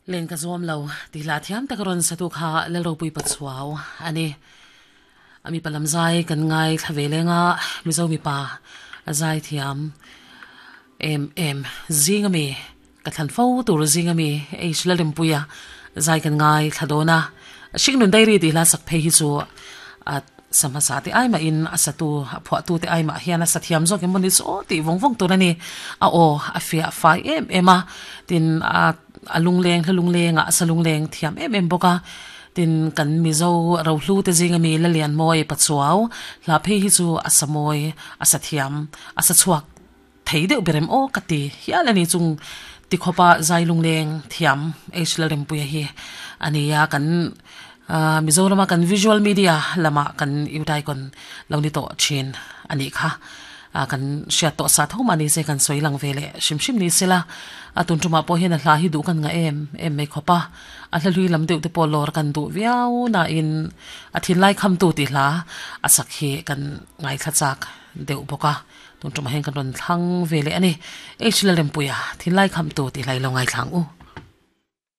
Len ka zuam lo tih hla thiam taka rawn satu kha Lalropui Pachuau a ni. A mipa lam zai kan ngaithla ve leng a, Mizo mipa a zai thiam em em zing ami ka thlan fo tur zing ami H Lalrinpuia zai kan ngaithla dawn a. Hringnun Diary tih hla sak phei hi chu a sa hmasa te ai mahin a satu a phuahtu te ai mah hian a sa thiam zawk em maw ni chu aw tih vawng vawng tur a ni. A aw a fiah fai em em a, tin a a lungleng hla lunglengah a sa lungleng thiam em em bawk a, tin kan Mizo rohlu te zinga mi Lalianmawi Pachuau hla phei hi chu a sa mawi a sa thiam a sa chhuak thei deuh ber em aw ka ti hial a ni chung tikhawpa zai lungleng thiam H Lalrempuia hi a ni a kan ah Mizorama kan visual media lamah kan Youth Icon lo ni tawh thin a nih kha. A kan hriat tawh sa tho mah ni se kan sawi lang ve leh hrim hrim ni sela a tun tumah pawh hian a hla hi duh kan ngah em em mai khawp a, a hla hlui lam deuh te pawh lawr kan duh viau nain a thinlai khamtu tih hla a sak hi kan ngaithla chak deuh bawk a, tun tumah hian kan rawn thlang ve leh a ni. H Lalrempuia thinlai khamtu tih hla i lo ngaithla ang u.